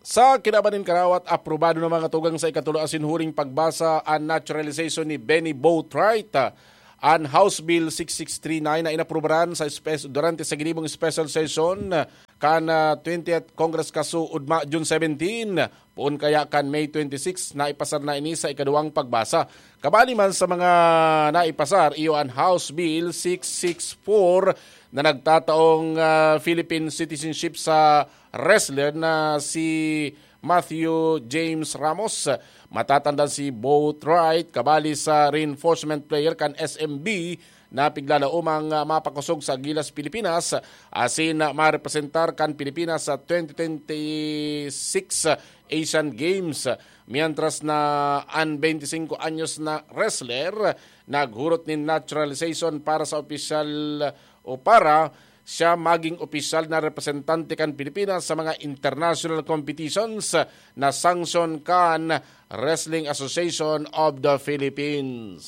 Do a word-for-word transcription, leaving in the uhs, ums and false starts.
Sa kinaban nin karawat, aprobado na mga tugang sa ikatulo asin huring pagbasa an naturalization ni Benny Boatwright. An House Bill six six three nine na inaprubaran sa espes-, durante sa ginibong special session kan ah, twentieth Congress kasuodma June seventeen, poon kaya kan May twenty-six, naipasar na ini sa ikaduwang pagbasa. Kabali man sa mga naipasar, iyo an House Bill six six four na nagtataong ah, Philippine citizenship sa wrestler na si Matthew James Ramos. Matatanda si Boatwright, kabali sa reinforcement player kan S M B na piglalaomang ah, mapakosog sa Gilas, Pilipinas, asin ah, marepresentar kan Pilipinas sa twenty twenty-six Asian Games. Mientras na an twenty-five anyos na wrestler naghurot nin naturalization para sa opisyal o para siya maging opisyal na representante kan Pilipinas sa mga international competitions na sanction kan Wrestling Association of the Philippines.